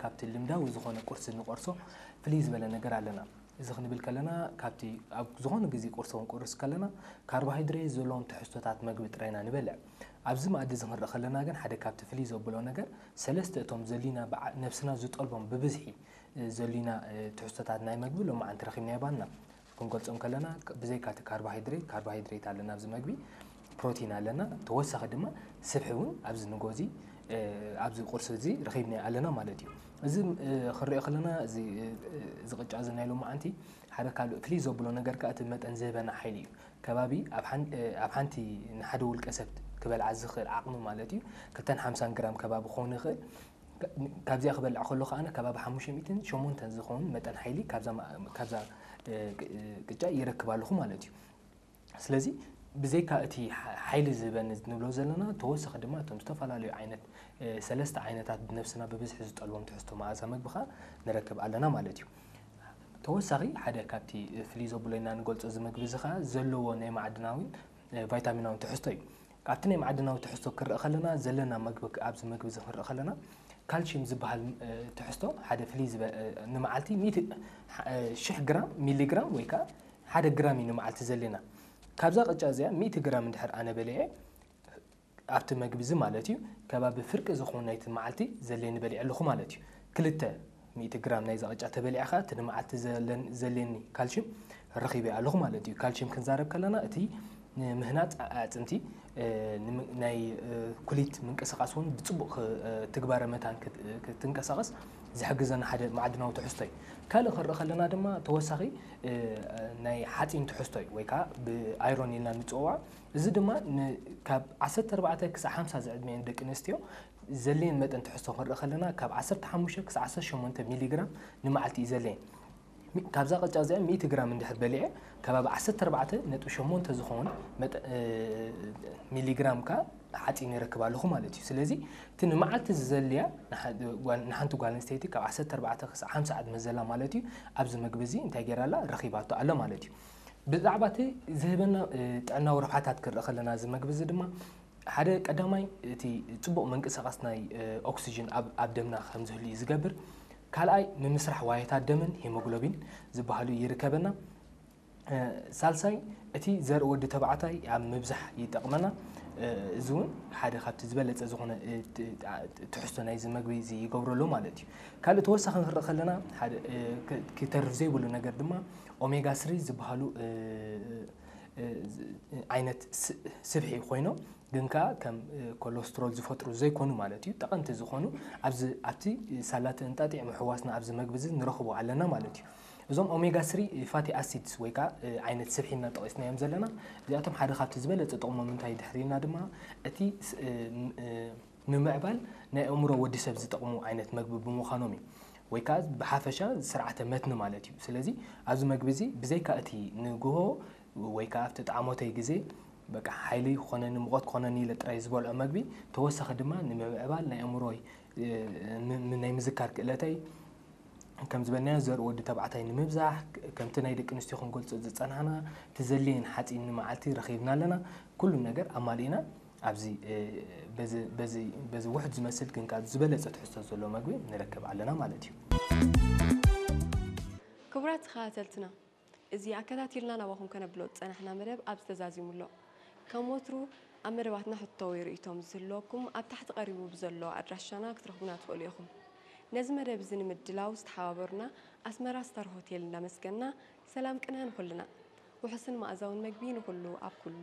ካብቲ ልምዳዊ ዝኾነ ቁርሲ ንቆርሶ ፍልይ ዝበለ ነገር ኣለና። እዚ ክንብል ከለና ካብቲ ኣብ ዝኾነ ግዜ ቁርሲ ክንቆርስ ከለና ካርቦሃይድሬት ዘለዎም ትሕዝቶታት መግቢ ጥራይና ንበልዕ። ኣብዚ መኣዲ እዚ ክንርኢ ከለና ግን ሓደ ካብቲ ፍልይ ዘብሎ ነገር ሰለስተ እቶም ዘሊና ብዓ- ነብስና ዝጠልቦም ብብዝሒ ዘሊና ትሕዝቶታት ናይ መግቢ ሎማዓንቲ ረኺብና የባና። ክንገልጾም ከለና ብዘይካ እቲ ካርቦሃይድሬት ካርቦሃይድሬት ኣለና ኣብዚ መግቢ፣ ፕሮቲን ኣለና፣ ተወሳኺ ድማ ስብሒ እውን ኣብዚ ንጎዚ ኣብዚ ቁርሲ እዚ ረኺብና ኣለና ማለት እዩ። እዚ ክንሪኦ ከለና እዚ ቅጫ እዚ ናይ ሎማዓንቲ ሓደ ካልእ ፍልይ ዘብሎ ነገር ከዓ እቲ መጠን ዝህበና ሓይሊ እዩ። ከባቢ ኣብ ሓንቲ ንሓደ ውልቀ ሰብ ክበልዓ ዝኽእል ዓቕሚ ማለት እዩ ክልተን ሓምሳን ግራም ከባቢ ክኸውን ይኽእል። ካብዚኣ ክበልዕ ከሎ ከኣ ከባቢ ሓሙሽተ ሚእትን ሸሞንተን ዝኸውን መጠን ሓይሊ ካብዛ ቅጫ ይረክብ ኣለኹ ማለት እዩ። ስለዚ ብዘይካ እቲ ሓይሊ ዝህበኒ ንብሎ ዘለና ተወሳኺ ድማ እቶም ዝተፈላለዩ ዓይነት ሰለስተ ዓይነታት ብነብስና ብብዝሒ ዝጠልቦም ትሕዝቶ መኣዛ መግቢ ከዓ ንረክብ ኣለና ማለት እዩ። ተወሳኺ ሓደ ካብቲ ፍልይ ዘብሎ ኢና ንገልጾ እዚ መግቢ እዚ ከዓ ዘለዎ ናይ ማዕድናዊን ቫይታሚናዊን ትሕዝቶ እዩ። ካብቲ ናይ ማዕድናዊ ትሕዝቶ ክረአ ከለና ዘለና መግቢ ኣብዚ መግቢ እዚ ክንረአ ከለና ካልሽየም ዝበሃል ትሕዝቶ ሓደ ፍልይ ዝበ ንመዓልቲ ሽሕ ግራም ሚሊግራም ወይ ከዓ ሓደ ግራም እዩ ንመዓልቲ ዘለና። ካብዛ ቅጫ እዚኣ ሚእቲ ግራም እንድሕር ኣነ በሊዐ ኣብቲ መግቢ እዚ ማለት እዩ ከባቢ ፍርቂ ዝኾኑ ናይቲ መዓልቲ ዘለኒ በሊዐ ኣለኹ ማለት እዩ። ክልተ ሚእቲ ግራም ናይዛ ቅጫ ተበሊዐ ከዓ እቲ ንመዓልቲ ዘለኒ ካልሽም ረኺበ ኣለኹ ማለት እዩ። ካልሽም ክንዛረብ ከለና እቲ ንምህናፅ ኣዕፅምቲ ናይ ኩሊት ምንቅስቃስ እውን ብፅቡቅ ትግባረ መታን ክትንቀሳቀስ ዝሕግዘና ሓደ ማዕድናዊ ትሕዝቶ እዩ። ካልእ ክንርኢ ከለና ድማ ተወሳኺ ናይ ሓፂን ትሕዝቶ እዩ ወይ ከዓ ብኣይሮን ኢልና ንፅውዖ። እዚ ድማ ካብ ዓሰርተ ኣርባዕተ ክሳብ ሓምሳ ዝዕድመየን ደቂ ኣንስትዮ ዘድልየን መጠን ትሕዝቶ ክንርኢ ከለና ካብ ዓሰርተ ሓሙሽተ ክሳብ ዓሰርተ ሸሞንተ ሚሊግራም ንመዓልቲ እዩ ዘድልየን። ካብዛ ቅጫ እዚኣ ሚእቲ ግራም እንድሕር በሊዐ ከባቢ ዓሰርተ ኣርባዕተ ነጥቢ ሸሞንተ ዝኸውን ሚሊግራም ካ ሓፂን ይረክብ ኣለኹ ማለት እዩ። ስለዚ እቲ ንመዓልቲ ዝዘልያ ንሓንቲ ጓል ኣንስተይቲ ካብ ዓሰርተ ኣርባዕተ ክሳብ ሓምሳ ዕድመ ዘላ ማለት እዩ ኣብዚ መግቢ እዚ እንታይ ገይራ ኣላ ረኺባቶ ኣለ ማለት እዩ። ብዛዕባ እቲ ዝህበና ጥዕናዊ ረብሓታት ክርኢ ከለና እዚ መግቢ እዚ ድማ ሓደ ቀዳማይ እቲ ፅቡቕ ምንቅስቃስ ናይ ኦክሲጅን ኣብ ደምና ከም ዝህሉ እዩ ዝገብር። ካልኣይ ምምስራሕ ዋየታት ደምን ሄሞግሎቢን ዝበሃሉ ይርከበና። ሳልሳይ እቲ ዘርኢ ወዲ ተባዕታይ ኣብ ምብዛሕ ይጠቕመና። እዚ እውን ሓደ ካብቲ ዝበለፀ ዝኾነ ትሕዝቶ ናይዚ መግቢ እዚ ይገብረሉ ማለት እዩ። ካልእ ተወሳኺ ክንርኢ ከለና ሓደ ክተርፍ ዘይብሉ ነገር ድማ ኦሜጋ ስሪ ዝበሃሉ ዓይነት ስብሒ ኮይኖም ግን ከዓ ከም ኮሎስትሮል ዝፈጥሩ ዘይኮኑ ማለት እዩ። ጠቐምቲ ዝኾኑ ኣብዚ ኣብቲ ሳላቲ እንጣጢዕ ምሕዋስና ኣብዚ መግቢ እዚ ንረኽቦ ኣለና ማለት እዩ። እዞም ኦሜጋ ስሪ ፋቲ ኣሲድስ ወይ ከዓ ዓይነት ስብሒ እናጠቐስናዮም ዘለና እዚኣቶም ሓደ ካብቲ ዝበለፀ ጥቕሞም እንታይ ድሕሪና ድማ እቲ ንምዕባል ናይ ኣእምሮ ወዲ ሰብ ዝጠቕሙ ዓይነት መግቢ ብምዃኖም እዩ። ወይ ከዓ ብሓፈሻ ስርዓተ መትኒ ማለት እዩ። ስለዚ ኣብዚ መግቢ እዚ ብዘይካ እቲ ንግሆ ወይ ከዓ ኣብቲ ጣዕሞተይ ግዜ በቃ ሓይሊ ክኾነኒ ሙቐት ክኾነኒ ኢለ ጥራይ ዝበልዖ መግቢ ተወሳኺ ድማ ንምምዕባል ናይ ኣእምሮይ ናይ ምዝካር ክእለተይ ከም ዝበልናዮ ዘርኢ ወዲ ተባዕታይ ንምብዛሕ ከምቲ ናይ ደቂ ኣንስትዮ ክንገልፆ ዝፀናሕና እቲ ዘድልየን ሓፂን ንመዓልቲ ረኺብና ኣለና። ኩሉ ነገር ኣማሊእና ኣብዚ በዚ ውሕድ ዝመስል ግን ካብ ዝበለፀ ትሕዝቶ ዘሎ መግቢ ንረክብ ኣለና ማለት እዩ። ክቡራት ተኸታተልትና እዚ ኣከታቲልና ናባኹም ከነብሎ ዝፀናሕና መደብ ኣብዚ ተዛዚሙ ኣሎ። ከም ወትሩ ኣብ መደባትና ሕቶ ወይ ርእይቶም ዝህልወኩም ኣብ ታሕቲ ቀሪቡ ብዘሎ ኣድራሻና ክትረኽቡና ትኽእሉ ኢኹም። ነዚ መደብ እዚ ንምድላው ዝተሓባበሩና ኣስመራ ስታር ሆቴል እናመስገንና ሰላም ቅነ ንኹልና። ውሑስን መኣዛውን መግቢ ንኹሉ ኣብ ኩሉ።